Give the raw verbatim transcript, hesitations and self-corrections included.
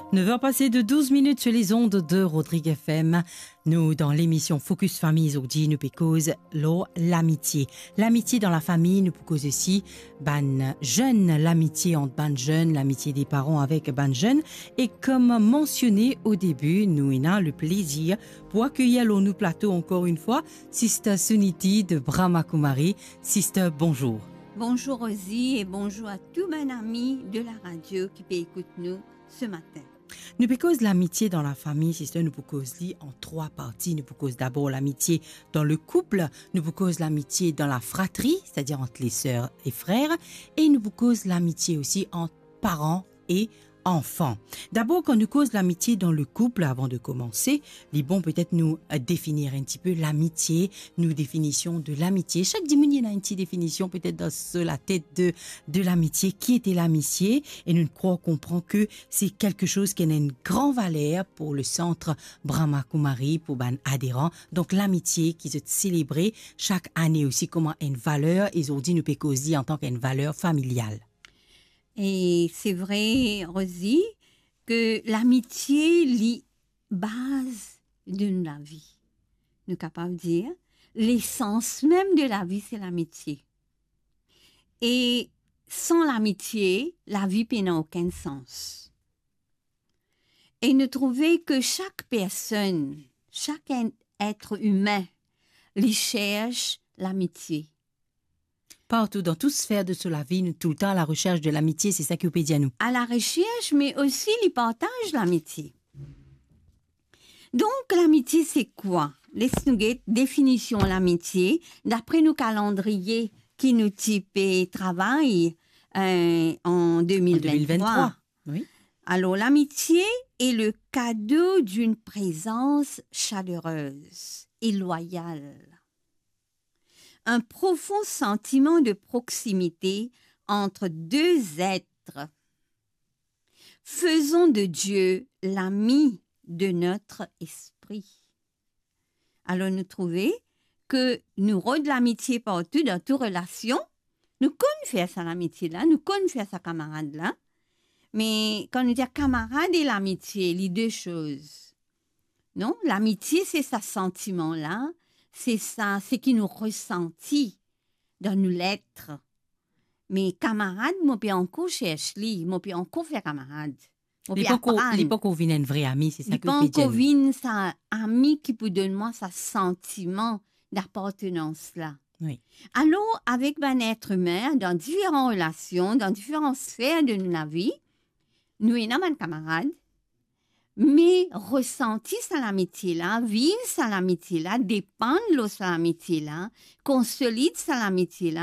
Nev er pase de douz minit sur les ondes de Rodrigue F M. Nou dan lemision Focus Famille zordi, nou pe koz lor lamitie. Lamitie dan lafami, nou pou koz osi bann zenn, lamitie ant bann zenn, lamitie de paran avek bann zenn. E kom mansione o debi, nou ena le plezir pou akeyir lor nou plato ankor enn fwa Sister Suniti de Brahma Kumari. Sister, bonzour. Bonzour Rosie e bonzour a tou bann ami de la radio ki pe ekout nou se matin. Nou pe koz lamitie dan lafami, sister, nou pou koz li an trwa parti. Nou pou koz dabor lamitie dan le koup, nou pou koz lamitie dan lafratri, setadir ant leser e frer, e nou pou koz lamitie osi ant paran e anfan. Dabor, kan nou koz lamitie dan le koup, avan de koumanse, li bon petet nou, eh, definir enn tipe lamitie, nou definision de lamitie. Sak dimoun ena enn ti definision petet dan so latet de, de lamitie. Ki ete lamitie? E nou krwar konpran ke se kelke soz ki ena enn gran valer pou le sant Brahma Kumari, pou bann aderan. Donk, lamitie ki zot selebre sak ane osi kouma enn valer, e zordi nou pe koz li antan ki enn valer familial. E se vre, Rosie, ke lamitie li baz de nou lavi. Nou kapav dir, lesans mem de lavi se lamitie. E san lamitie, lavi pena okenn sans. E nou trouve ke sak personn, sak enn etre imin, li sers lamitie. Partou, dan tou sfer de so lavi, nou toultan a la resers de lamitie, se sa ki ou pe dir nou. A la resers, me osi li partaz lamitie. Donk, lamitie se kwa? Les nou get definision lamitie, dapre nou kalandriye ki nou ti pe travay, eh, an de mil venntrwa. An de mil venntrwa, wi. Alor, l'amitié est le cadeau d'une présence chaleureuse et loyale. Un profond sentiment de proximité entre deux êtres. Faisons de Dieu l'ami de notre esprit. Alor, nou trouve ke nou rod lamitie partou dan tou relasion. Nou konn fer sa lamitie la, nou konn fer sa kamarad la. Me kan nou dir kamarad e lamitie, li de soz. Non, lamitie se sa santiman la, se sa, seki nou resanti dan nou let. Me kamarad, mo pe ankor sers li, mo pe ankor fer kamarad. Mo pe aprann. Li pankor vinn enn vre ami, se sa ki ou pe dir. Li pankor vinn sa ami ki pou donn mwa sa santiman dapartenans la. Wi. Alor, avek bann etre imin, dan diferan relasion, dan diferan sfer de nou lavi, nou ena bann kamarad, me resanti sa lamitie la, viv sa lamitie la, depann lor sa lamitie la, konsolid sa lamitie la,